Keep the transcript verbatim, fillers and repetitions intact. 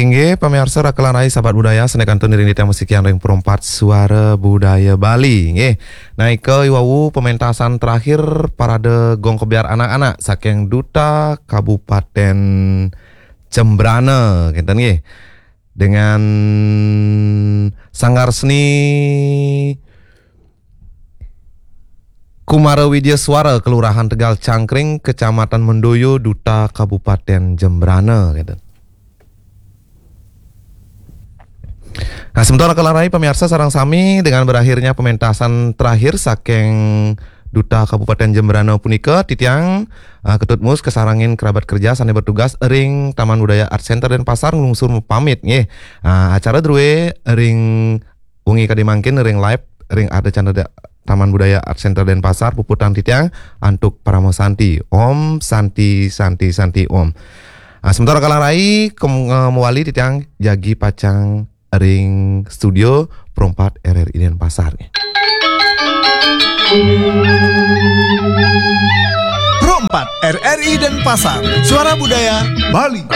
Inggih, pamiarsa Rakelan Rai Sahabat Budaya, sané kantun iring titiang masikian ring Perempat Suara Budaya Bali. Nggih. Nah, ika iwau pementasan terakhir parade gong kebyar anak-anak saking Duta Kabupaten Jembrana, kinten nggih. Dengan Sanggar Seni Kumara Widya Suara, Kelurahan Tegal Cangkring, Kecamatan Mendoyo, Duta Kabupaten Jembrana, gitu. Nah, sementara Rakelan Rai pamiarsa sareng sami, dengan berakhirnya pementasan terakhir saking Duta Kabupaten Jembrana punika, titiang, uh, Ketut Mus kasarengin kerabat kerja sané bertugas ring Taman Budaya Art Center Denpasar nglungsur mapamit nggih. Uh, acara drué ring wengi kadi mangkin ring live ring ada channel da-, Taman Budaya Art Center Denpasar, puputang titiang antuk Parama Santi. Om Santi, Santi, Santi, Om. Ah, sementara Rakelan Rai, kem-, eh, mawali titiang jagi pacang ring studio Perempat R R I Denpasar. Perempat R R I Denpasar, Suara Budaya Bali.